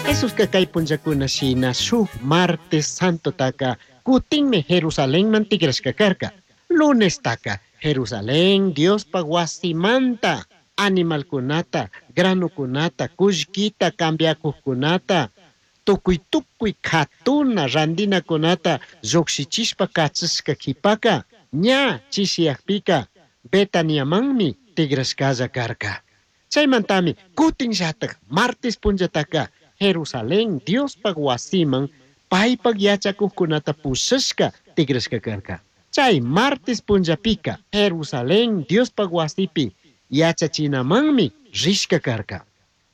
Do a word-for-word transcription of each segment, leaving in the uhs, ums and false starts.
Jesusca kay punllakuna shina shuk martes santotaka kutinmi Jerusalenman tigrashka karka. Lunestaka Jerusalén Diospaj wasimanta animalkunata, granukunata, kullkita cambiakujkunata, tukuy tukuy katuna randinakunata llukshichishpa kachishka kipaka ña chishiyakpika Betaniamanmi tigrashkalla karka. Chaymantami kutinllatak martes punllataka Jerusalén Diospaj wasiman paypak yachakujkunata pushashka tigrashka karka. Chay martes punllapika Jerusalén Diospaj wasipi yachachinamanmi rishka karka.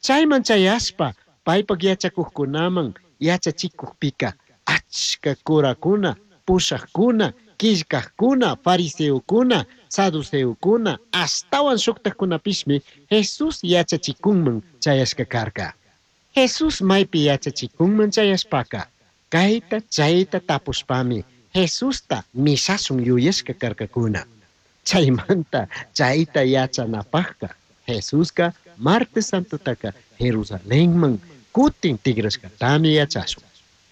Chayman chayashpa paypak yachakujkunaman yachachikujpika achka kurakuna, pushakuna, killkajkuna, fariseokuna, saduceokuna, ashtawan shuktajkunapishmi Jesús yachachikunman chayashka karka. Jesús maypi yachachikunman chayashpaka kayta chayta tapushpami Jesusta mishashun yuyashka karkakuna. Chaymanta chayta yachanapajka Jesuska martes santotaka Jerusalenman kutin tigrashkatami yachashun.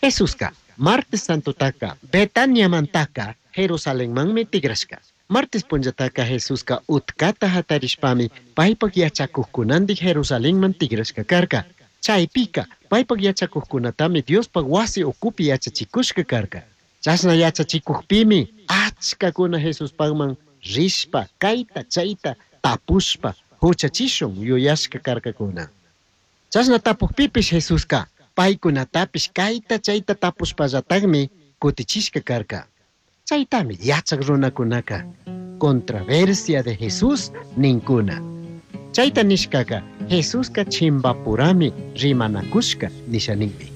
Jesuska martes santotaka Betaniamantaka Jerusalenmanmi tigrashka. Martes punllataka Jesuska utkata hatarishpami paypak yachakujkunandik Jerusalenman tigrashka karka. Chaypika paypak yachakujkunatami Diospaj wasi ukupi yachachikushka karka. Chashna yachachikujpimi achkakuna Jesuspajman rishpa kayta chayta tapushpa huchachishun yuyashka karkakuna. Chashna tapukpipish Jesuska paykunatapish kayta chayta tapushpallatakmi kutichishka karka. Chaytami yachak runakunaka controversia de Jesús ninkuna. Chayta nishkaka Jesuska chimbapurami rimanakushka nisha ninmi.